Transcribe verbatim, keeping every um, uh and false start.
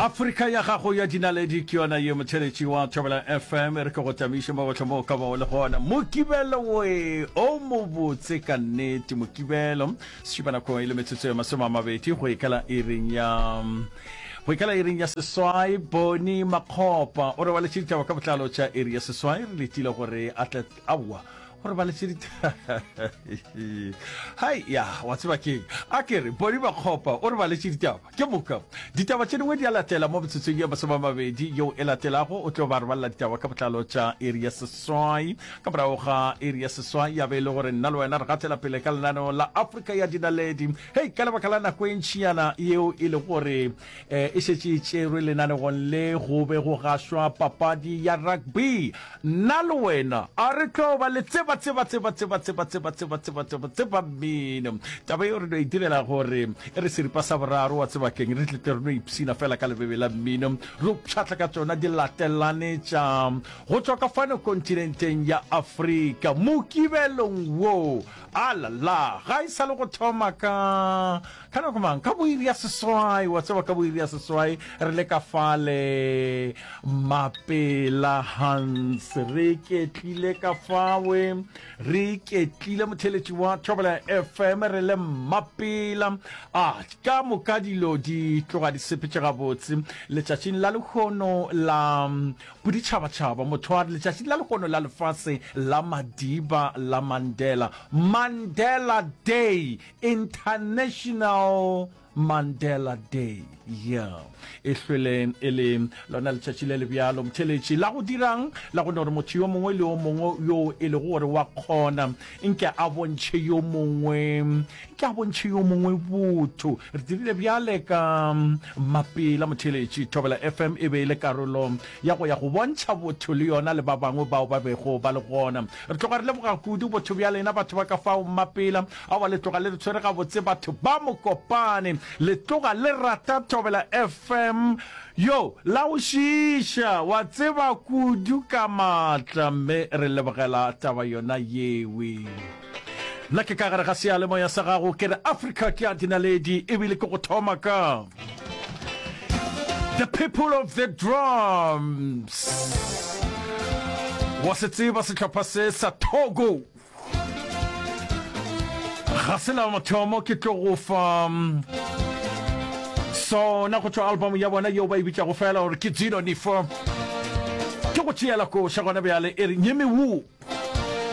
Afrika ya gago ya dinaledi ke yona ye motheletši wa Thobela F M. E re ke go tamiše mo gohle mo o ka bago le gona. Mokibelo we o mobotse ka nnete. Mokibelo sešupa nako e le metsotso ya masome a mabedi go ikela iring ya go ikela iring ya seswai. Boni Makgopa o re baletše ditaba ka botlalo tša iri ya seswai. Re letile gore a tle aowa gore baletše ditaba. Hai ya wa tseba keng, a ke re Boni Makgopa o re baletše ditaba, ke moka ditaba tše dingwe di a latela mo metsotsong ye masome a mabedi yeo e latelago. O tlo ba re balela ditaba ka botlalo tša iri ya seswai. Ka morago ga iri ya seswai ya be e le gore nna le wena re gatela pele ka lenaneo la Afrika ya Dinaledi. Hei, ka lebaka la nako e ntšinyana yeo e le gore eh, e šetše e tšerwe lenanegong le go be go gašwa papadi ya rugby, nna le wena a re tlo ba le tseba tseba tseba tseba tseba tseba tseba tseba tseba tseba mmino. Taba eo re no e direla gore e re seripa sa boraro wa tseba keng, re tlete re no ipsina fela ka lebebe la mmino, re pšhatla ka tsona di latelane tša go tšwa ka fano kontinenteng ya Afrika mokibelong wo. Alala, ga e sa le go thoma ka ka nako mang, ka boiri ya seswai, wa tseba, ka boiri ya seswai re le ka fale Mapela Hans, re ketlile ka fawe, re ketlile motheletši wa Thobela F M, re le Mapela. A ka moka dilo di tloga di sepetše gabotse letšatšing la lehono la boditšhabatšhaba. Motho a re letšatšing la lehono la lefase la Madiba la Mandela, Mandela Day, International Mandela Day, yeah, e hlwele e le lona letšatši le le bjalo motheletši la go dirang la go no re motho yo mongwe le yo mongwe yo e lego gore wa kgona nke a bontšhe yo mongwe nke a bontšhe yo mongwe botho. Re dirile bjale ka Mapela motheletši. Thobela F M e be e le karolo ya go ya go bontšha botho le yona le ba bangwe bao ba bego ba le gona. Re tloga re leboga kudu botho bja lena batho ba ka fao Mapela. Aowa, le tloga le re tshwere gabotse batho ba Mokopane, le tloga le rata Thobela F M yo la go šiiša wa tseba kudu ka maatla, mme re lebogela taba yona yewe. Nna ke ka gare ga seyalemoya sa gago, ke re Afrika ke ya dinaledi, ebile ke go thoma ka The People of the Drums. Wa se tseba sehlopha se sa Togo, ga se la mathomo ke tlo go fa sona go tšwa album ya bona yeo ba e bitšago fela gore ke Dzinonifa. Ke go tšeela koša gona bjale e re Nyemewu.